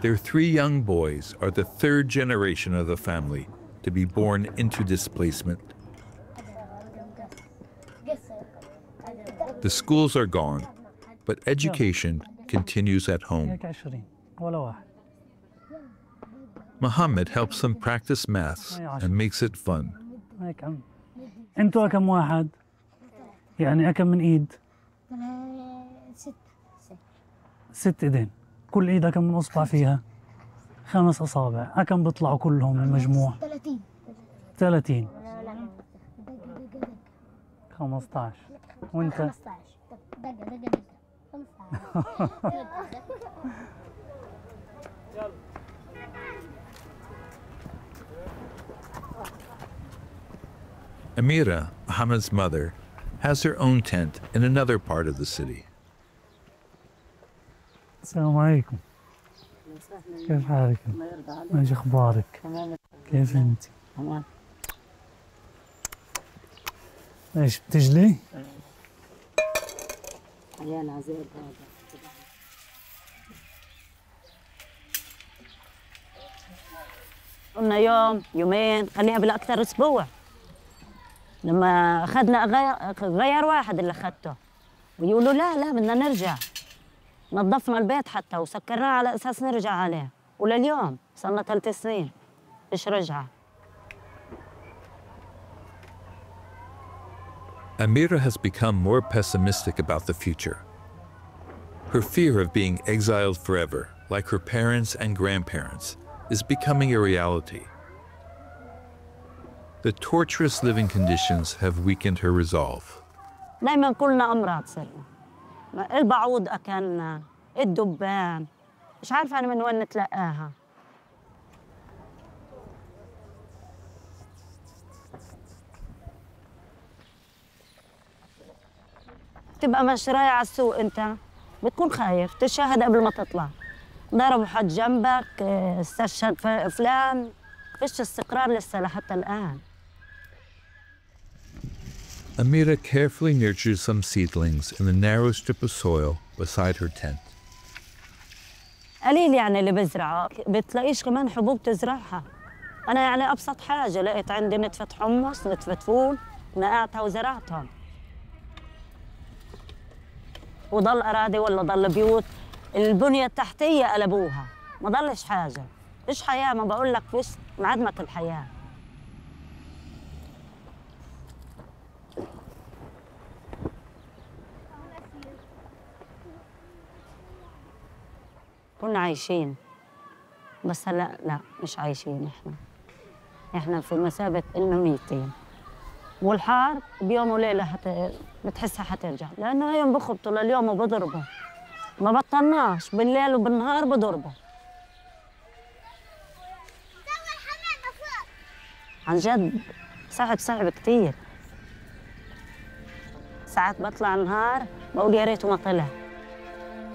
Their 3 young boys are the 3rd generation of the family to be born into displacement. The schools are gone, but education continues at home. Mohammed helps them practice maths and makes it fun. انتوا كم واحد؟ يعني كم من ايد؟ 6 ايدين. كل ايد كم من اصبع فيها؟ 5 اصابع. كم بيطلعوا كلهم المجموع؟ 30. 15. وانت؟ 15. دقة 15. Amira, Mohammed's mother, has her own tent in another part of the city. السلام عليكم. كيف حالك؟ ايش اخبارك؟ كيف انت؟ تمام. ايش بتجلي؟ عيال عزيز هذا. قلنا يوم يومين خليها بالاكثر اسبوع. لما اخذنا غير واحد اللي اخذته ويقولوا لا بدنا نرجع. نظفنا البيت حتى وسكرناه على اساس نرجع عليه، ولليوم صرنا 3 سنين فيش رجعه. Amira has become more pessimistic about the future. Her fear of being exiled forever, like her parents and grandparents, is becoming a reality. The torturous living conditions have weakened her resolve. دايما كلنا امراض صرنا. البعوض اكلنا، الدبان، مش عارفه انا من وين نتلقاها. تبقى ماشي رايح على السوق انت بتكون خايف تشاهد قبل ما تطلع. ضربوا حد جنبك، استشهد فلان، فيش استقرار لسه لحتى الان. Amira carefully nurtures some seedlings in the narrow strip of soil beside her tent. قليل يعني اللي بزرعه، بتلاقيش كمان حبوب تزرعها. أنا يعني أبسط حاجة لقيت عندي نتفة حمص، نتفة فول، نقعتها وزرعتهم. وضل أراضي ولا ضل بيوت، البنية التحتية قلبوها، ما ضلش حاجة. فيش حياة، ما بقول لك فيش، انعدمت الحياة. كنا عايشين بس هلا لا مش عايشين. احنا في مثابة إنه ميتين، والحار بيوم وليلة بتحسها حترجع، لأنه يوم بخبطوا لليوم وبضربوا، ما بطلناش بالليل وبالنهار بضربوا. عن جد صعب كتير. ساعات بطلع النهار بقول يا ريته ما طلع.